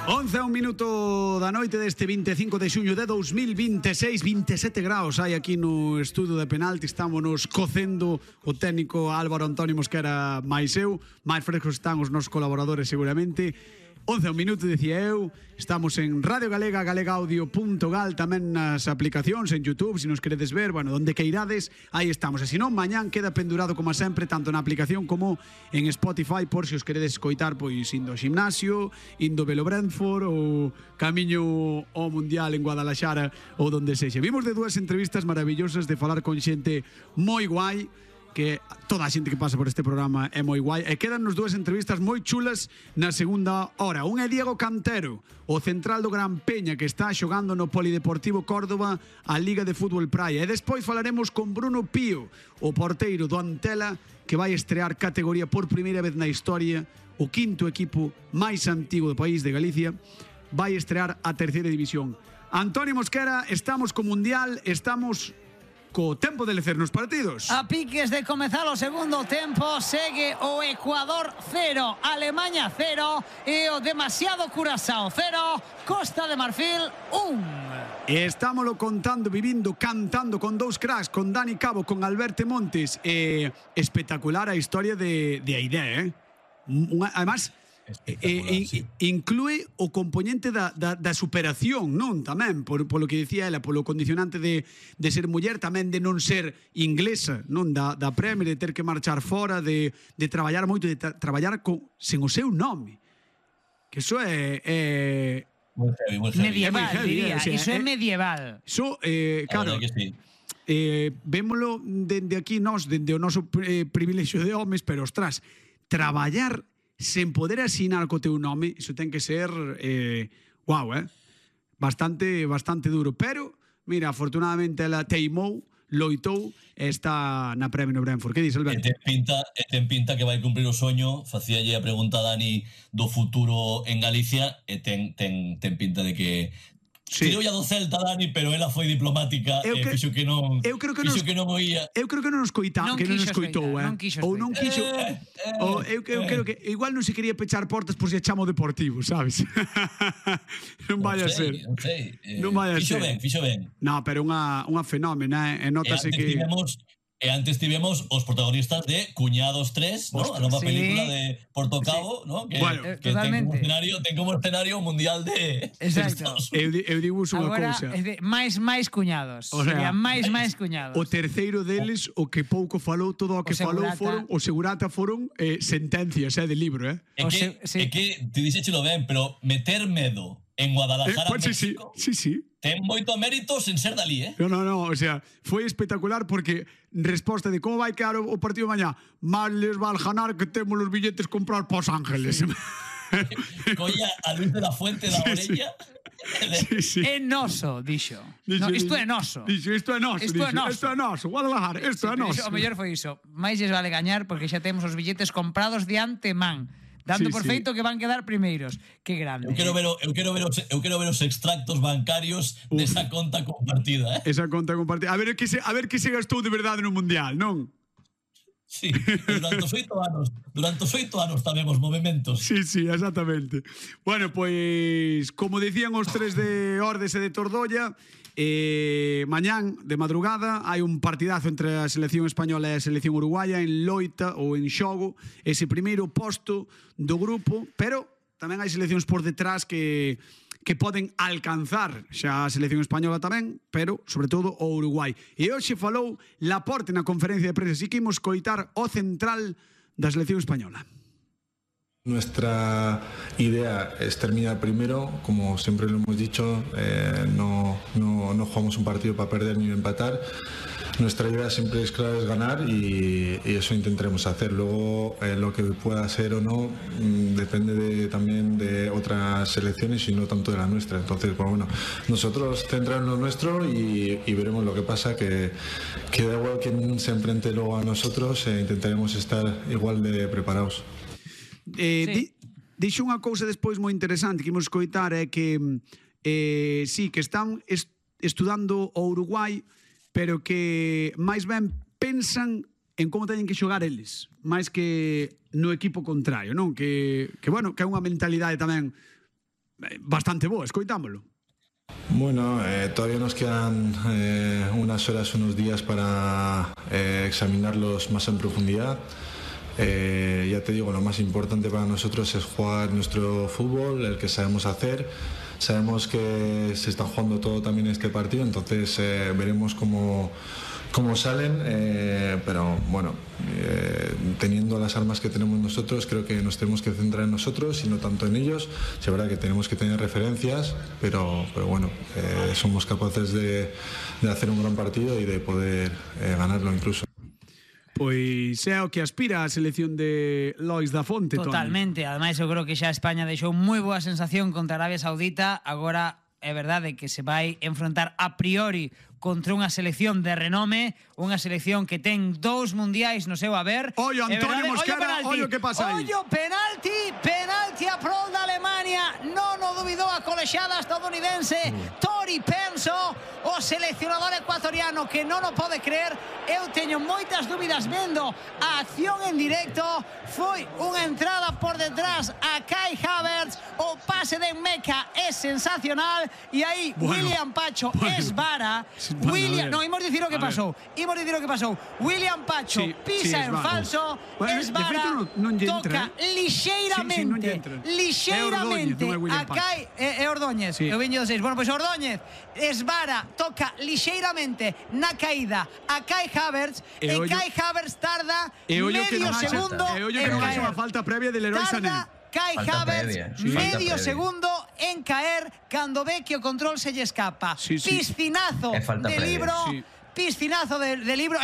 11 a un minuto da noite deste 25 de xuño de 2026, 27 graus hai aquí no estudio de penalti. Estamos nos cocendo o técnico Álvaro Antonio Mosquera máis eu. Máis frescos están os nosos colaboradores seguramente. 11 a un minuto, dicía eu. Estamos en Radio Galega, galegaaudio.gal, tamén nas aplicacións, en YouTube, se nos queredes ver, bueno, donde que irades, aí estamos. E se non, mañán queda pendurado como sempre, tanto na aplicación como en Spotify, por se os queredes escoitar, pois indo ao gimnasio, indo velo Brentford, ou camiño ao Mundial en Guadalajara, ou donde sexa. Vimos de dúas entrevistas maravillosas de falar con xente moi guai, que toda a xente que pasa por este programa é moi guai, e quedan nos dúas entrevistas moi chulas na segunda hora. Un é Diego Cantero, o central do Gran Peña, que está xogando no Polideportivo Córdoba a Liga de Fútbol Praia, e despois falaremos con Bruno Pío, o porteiro do Antela, que vai estrear categoría por primeira vez na historia, o quinto equipo máis antigo do país de Galicia, vai estrear a terceira división. Antonio Mosquera, estamos co Mundial, estamos co tempo de lecer nos partidos. A piques de comezar o segundo tempo, segue o Ecuador 0, Alemanha 0 e o demasiado Curazao 0, Costa de Marfil 1. E estámoslo contando, vivindo, cantando con dous cracks, con Dani Cabo, con Alberto Montes. Espectacular a historia de Aidé, además, inclúe o componente da superación, non? Tamén, polo que dicía ela, polo condicionante de ser muller, tamén de non ser inglesa, non? Da Premier, de ter que marchar fora, de traballar moito, de traballar sen o seu nome. Que iso é medieval, diría. Iso é medieval. Iso, claro, vémolo dende aquí nós, dende o noso privilexio de homes, pero, ostras, traballar sen poder asinar co teu nome, iso ten que ser bastante duro, pero mira, afortunadamente ela teimou, loitou e está na Premier no Brentford. Que dices, Alberto? Ten pinta que vai cumprir o soño. Facíalle a pregunta a Dani do futuro en Galicia e ten pinta de que tirou ya do Celta, Dani, pero ela foi diplomática e fixo que non oía. Eu creo que non nos coitou, ou non quixo. Eu creo que igual non se quería pechar portas por se chamo Deportivo, sabes? Non vai a ser. Non vai a ser. Fixo ben. No, pero unha fenómena, e notase que E antes tivemos os protagonistas de Cuñados 3, ¿no? A nova película de Porto Cabo, ¿no? Que ten como escenario o Mundial de Estados Unidos. Eu digo unha cousa. Agora, máis cuñados. O sea, máis cuñados. O terceiro deles, o que pouco falou, todo o que falou foron, o segurata foron sentencias, de libro, É que, te dixéchelo ben, pero meter medo en Guadalajara, México, ten moito mérito sen ser dalí, No, o sea, foi espectacular porque resposta de como vai quedar o partido mañá, mal les va al ganar que temos os billetes comprar para Os Ángeles. Colla a Luis de la Fuente da orella. É noso, dixo. Isto é noso. Isto é noso. Guadalajara, isto é noso. O mellor foi iso. Mais lles vale gañar porque xa temos os billetes comprados de antemán, dando por feito que van quedar primeiros. Que grande. Eu quero ver os extractos bancarios desa conta compartida, Esa conta compartida. A ver que se gastou de verdade no Mundial, non? Sí, durante os 8 anos tabemos movimentos. Sí, exactamente. Bueno, pois, como dicían os tres de Ordes e de Tordolla, mañán de madrugada hai un partidazo entre a selección española e a selección uruguaya en loita ou en xogo ese primeiro posto do grupo, pero tamén hai seleccións por detrás que poden alcanzar xa a selección española tamén, pero sobre todo o Uruguai. E hoxe falou Laporte na conferencia de prensa, así que imos coitar o central da selección española. Nuestra idea es terminar primero, como siempre lo hemos dicho, no jugamos un partido para perder ni empatar. Nuestra idea siempre es clara, es ganar y eso intentaremos hacer. Luego lo que pueda ser o no depende también de otras selecciones y no tanto de la nuestra. Entonces, pues bueno, nosotros centrarnos en lo nuestro y veremos lo que pasa, que da igual quien se enfrente luego a nosotros, intentaremos estar igual de preparados. Dixo unha cousa despois moi interesante que imos escoitar, é que que están estudando o Uruguai, pero que máis ben pensan en como teñen que xogar eles, máis que no equipo contrario, non? Que bueno, que é unha mentalidade tamén bastante boa, escoitámolo. Bueno, todavía nos quedan unas horas, unos días para examinarlos más en profundidad. Ya te digo, lo más importante para nosotros es jugar nuestro fútbol, el que sabemos hacer. Sabemos que se está jugando todo también este partido, entonces veremos cómo salen, pero bueno, teniendo las armas que tenemos nosotros, creo que nos tenemos que centrar en nosotros y no tanto en ellos. Es verdad que tenemos que tener referencias, pero bueno, somos capaces de hacer un gran partido y de poder ganarlo incluso. Pois é o que aspira a selección de Lois da Fonte, Toni. Totalmente, ademais eu creo que xa España deixou moi boa sensación contra Arabia Saudita, agora é verdade que se vai enfrontar a priori contra unha selección de renome, unha selección que ten 2 mundiais no seu haber. Ollo, Antonio Mosquera, ollo que pasa aí. Ollo, penalti a prol da Alemania, non o dubidou a colexada estadounidense. Tori Penso, o seleccionador ecuatoriano, que non o pode creer. Eu teño moitas dúbidas vendo a acción en directo. Foi unha entrada por detrás a Kai Havertz, o pase de Meca é sensacional, e aí William Pacho esvara. No, imos dicir o que pasou. William Pacho pisa en falso, esvara, toca lixeiramente a Kai Ordóñez. Eu viño de 6. Bueno, pois Ordóñez esvara, toca lixeiramente na caída a Kai Havertz, e Kai Havertz tarda medio segundo en caer. Unha falta previa de Leroy Sané. Kai Havertz medio segundo en caer cando ve que o control se lle escapa. Piscinazo de libro, piscinazo de libro.